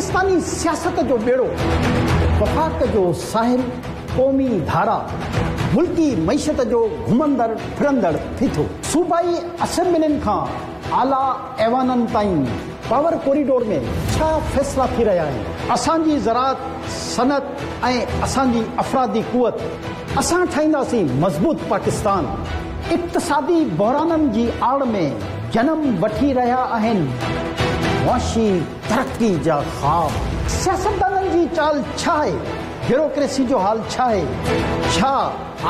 پاڪستاني سياست جو ٻيڙو، وفاق جو ساحل، قومي ڌارا، ملڪي معيشت جو گهمندڙ ڦرندڙ ڦيٿو، صوبائي اسيمبلين کان اعليٰ ايوانن تائين پاور ڪوريڊور ۾ ڇا فيصلا ٿي رهيا آهن؟ اسان جي زراعت، صنعت ۽ اسان جي افرادي قوت، اسان ٺاهينداسين مضبوط پاڪستان. اقتصادي بحرانن جي آڙ ۾ جنم وٺي رهيا آهن معاشي ترقي جا خواب. سياستدانن جي چال ڇا آهي؟ بيوروڪريسي جو حال ڇا آهي؟ ڇا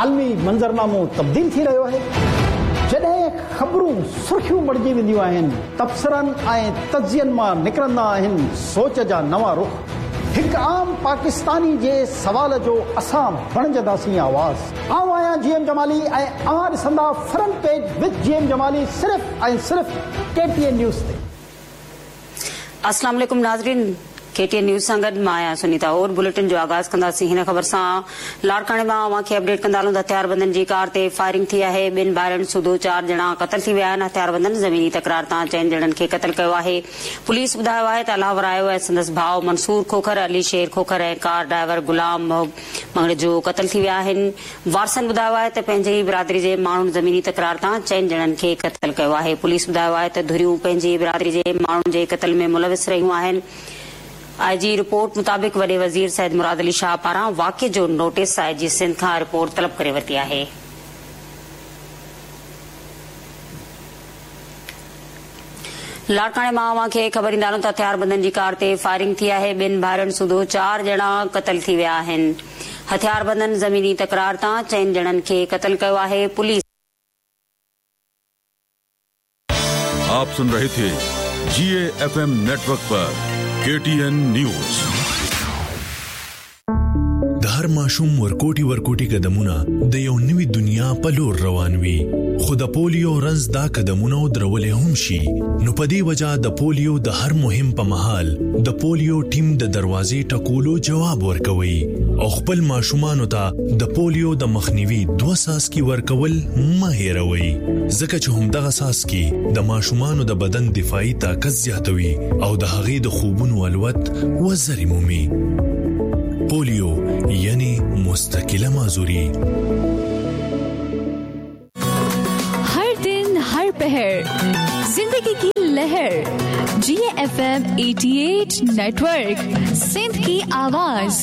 عالمي منظرنامو تبديل ٿي رهيو آهي؟ جڏهن خبرون سرخيون بڻجي وينديون آهن، تبصرن ۽ تجزين مان نڪرندا آهن سوچ جا نوان رخ. هڪ عام پاڪستاني جي سوال جو اسان بڻجنداسين آواز. آئون آهيان جي ايم جمالي ۽ اوهان ڏسندا front page with G M Jamali صرف ۽ صرف ڪي ٽي اين نيوز تي. السلام عليڪم ناظرين ڪي ٽي اين نيوز سان گڏ مان آهيان سنيتا اور بليٽن جو آغاز ڪنداسين هن خبر سان لاڙڪاڻي مان اوهان کي اپڊيٽ ڪندا هلون ته هٿياربندن جي ڪار تي فائرنگ ٿي آهي ٻن ڀائرن سوڌو چار ڄڻا قتل ٿي ويا آهن هٿياربندن زميني تڪرار تان چئن ڄڻن کي قتل ڪيو آهي پوليس ٻڌايو آهي ته الله ورايو ۽ سندس ڀاء منصور کوکر، علي شير کوکر ۽ ڪار ڊرائيور غلام محب مڱڻيجو قتل ٿي ويا آهن. وارثن ٻڌايو آهي ته پنهنجي ئي برادري جي ماڻهن زميني تڪرار تان چئن ڄڻن کي قتل ڪيو آهي. پوليس ٻڌايو آهي ته ڌريون پنهنجي ئي برادري جي ماڻهن جي قتل ۾ ملوث رهيون آهن. آء جي رپورٽ مطابق وڏي وزير سيد مراد علي شاهه پاران واقعي جو نوٽيس I جي سنڌ کان رپورٽ طلب ڪري ورتي آهي. لاڙڪاڻي مان اوهان کي خبر ڏيندا هلون ته هٿياربندن جي ڪار تي فائرنگ ٿي آهي، ٻن ڀائرن سوڌو چار ڄڻا قتل ٿي ويا آهن، هٿياربندن زميني تڪرار تان چئن ڄڻن کي قتل ڪيو آهي، پوليس. آپ سن رهي ٿي G E F M network پر ڪي ٽي اين نيوز. د هر ماشوم ورکوټي ورکوټي قدمونه د یو نوي دنیا په لور روان وي خو د پولیو رنځ دا قدمونه درولې هم شي نو په دې وجه د پولیو د هر مهم په مهال د پولیو ټیم د دروازې ټکولو جواب ورکوي او خپل ماشومانو ته د پولیو د مخنیوي دوه څاڅکي ورکول مه هېروئ ځکه چې همدغه څاڅکي د ماشومانو د بدن دفاعي طاقت زیاتوي او د هغې د خوبونو الوت وزرې مومي. پولیو یعنی مستقله معذوري. هر دن هر پهر زندگي ڪي لهر جي ايف ايم 88 نيٽورڪ سنڌ ڪي آواز.